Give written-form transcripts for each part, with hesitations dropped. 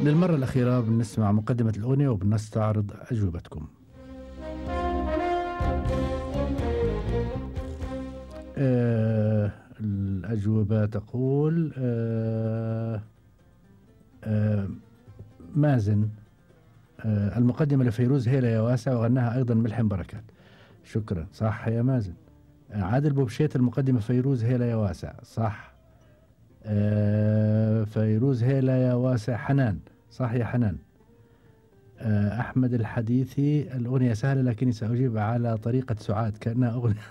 للمرة الأخيرة بنسمع مقدمة الأغنية وبنستعرض أجوبتكم. الأجوبة تقول مازن المقدمة لفيروز هيلا يا واسع وغناها أيضا ملحم بركات. شكرا، صح يا مازن. عادل بوبشيت المقدمة فيروز هيلا يا واسع، صح. فيروز هيلا يا واسع حنان، صح يا حنان. أحمد الحديثي الأغنية سهلة لكني سأجيب على طريقة سعاد كأنها أغنية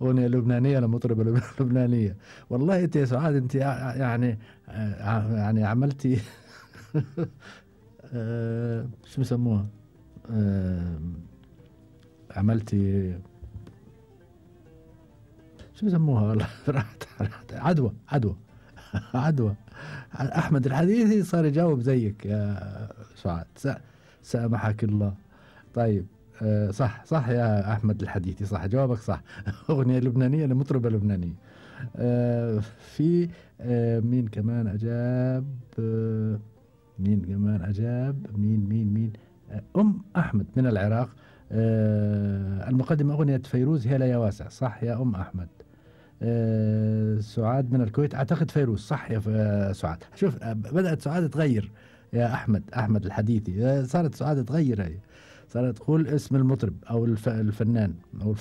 أغنية لبنانية لمطربة لبنانية. والله أنت يا سعاد أنت يعني عملتي شو بسموها، عملتي شو بسموها والله راحت عدوى عدوى. أحمد الحديثي صار يجاوب زيك يا سعاد، سامحك الله. طيب صح يا أحمد الحديثي، صح جوابك صح. أغنية لبنانية لمطربة لبنانية. في مين كمان أجاب؟ مين أم أحمد من العراق. المقدمة أغنية فيروز هلا يا واسع، صح يا أم أحمد. سعاد من الكويت أعتقد فيروز، صح يا سعاد. شوف بدأت سعاد تغير يا أحمد الحديثي، صارت سعاد تغير، هي صارت تقول اسم المطرب أو الفنان أو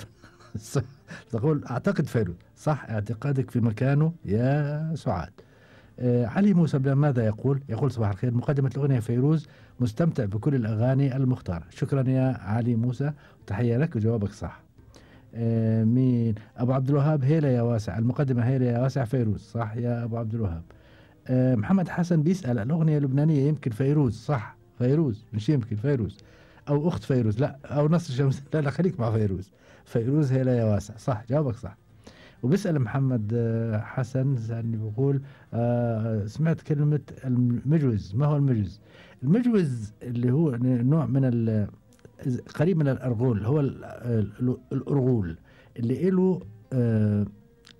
تقول أعتقد فيروز، صح اعتقادك في مكانه يا سعاد. علي موسى ماذا يقول؟ يقول صباح الخير، مقدمة الأغنية فيروز مستمتع بكل الأغاني المختارة. شكرا يا علي موسى وتحية لك وجوابك صح. مين؟ أبو عبد الوهاب هيلا يا واسع، المقدمة هيلا يا واسع فيروز، صح يا أبو عبد الوهاب. محمد حسن بيسأل الأغنية اللبنانية يمكن فيروز، صح فيروز، مش يمكن فيروز أو أخت فيروز، لا أو نصر شمس، لا خليك مع فيروز هيلا يا واسع، صح جوابك صح. وبيسأل محمد حسن سألني بيقول سمعت كلمة المجوز، ما هو المجوز؟ المجوز اللي هو نوع من قريب من الأرغول، هو الأرغول اللي له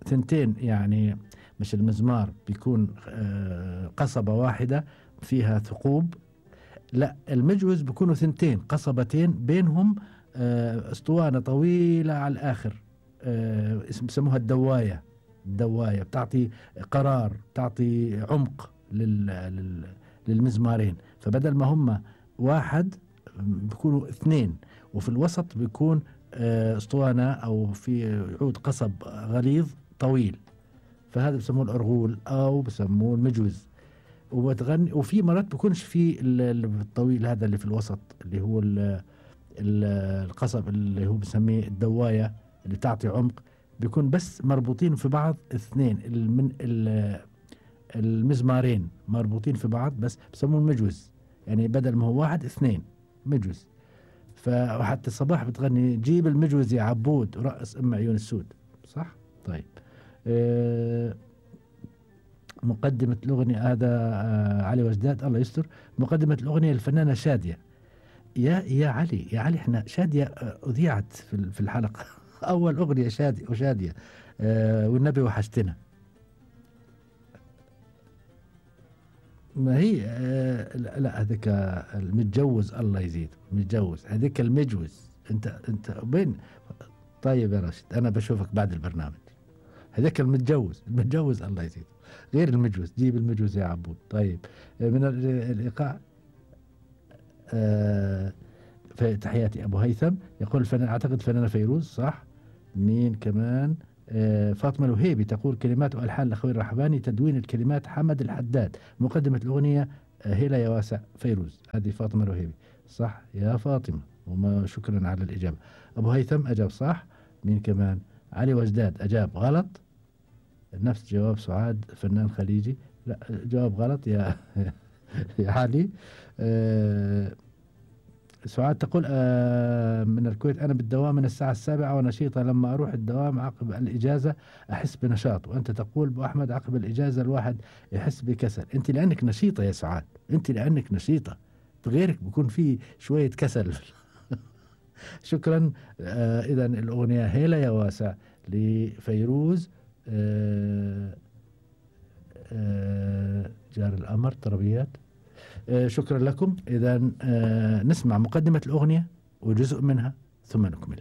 ثنتين، يعني مش المزمار بيكون قصبة واحدة فيها ثقوب، لا المجوز بيكونوا ثنتين قصبتين بينهم اسطوانة طويلة على الآخر، بسموها الدواية بتعطي قرار، بتعطي عمق للمزمارين. فبدل ما هم واحد بيكونوا اثنين، وفي الوسط بيكون اسطوانة او في عود قصب غليظ طويل، فهذا بسموه الأرغول او بسموه المجوز. وبتغني وفي مرات بيكونش في الطويل هذا اللي في الوسط اللي هو القصب اللي هو بسميه الدواية اللي تعطي عمق، بيكون بس مربوطين في بعض اثنين من المزمارين مربوطين في بعض، بس بسموه المجوز، يعني بدل ما هو واحد اثنين مجوز. فحتى الصباح بتغني جيب المجوز يا عبود ورقص ام عيون السود، صح. طيب مقدمة الأغنية هذا علي وجداد الله يستر. مقدمة الأغنية الفنانة شادية. يا علي احنا شادية أذيعت في الحلقة أول أغنية شادية والنبي وحشتنا. ما هي لا هذيك المتجوز الله يزيد، متجوز هذيك المجوز. انت بين. طيب يا راشد انا بشوفك بعد البرنامج. هذاك المتجوز الله يزيد، غير المجوز، جيب المجوز يا عبود. طيب من الإيقاع في تحياتي أبو هيثم يقول الفنان أعتقد فنانة فيروز، صح. مين كمان؟ فاطمة الوهيبي تقول كلمات وألحان الأخوي الرحباني، تدوين الكلمات حمد الحداد، مقدمة الأغنية هيلا يا واسع فيروز. هذه فاطمة الوهيبي، صح يا فاطمة وما شكرا على الإجابة. أبو هيثم أجاب صح. مين كمان؟ علي وجداد أجاب غلط، نفس جواب سعاد فنان خليجي، لا جواب غلط يا يا علي. سعاد تقول من الكويت أنا بالدوام من الساعة 7 ونشيطة، لما أروح الدوام عقب الإجازة أحس بنشاط. وأنت تقول أبو أحمد عقب الإجازة الواحد يحس بكسل. أنت لأنك نشيطة يا سعاد، أنت لأنك نشيطة، غيرك بيكون في شوية كسل. شكرا. إذا الأغنية هيلا يا واسع لفيروز. جار الأمر طربيات شكرا لكم. إذا نسمع مقدمة الأغنية وجزء منها ثم نكمل.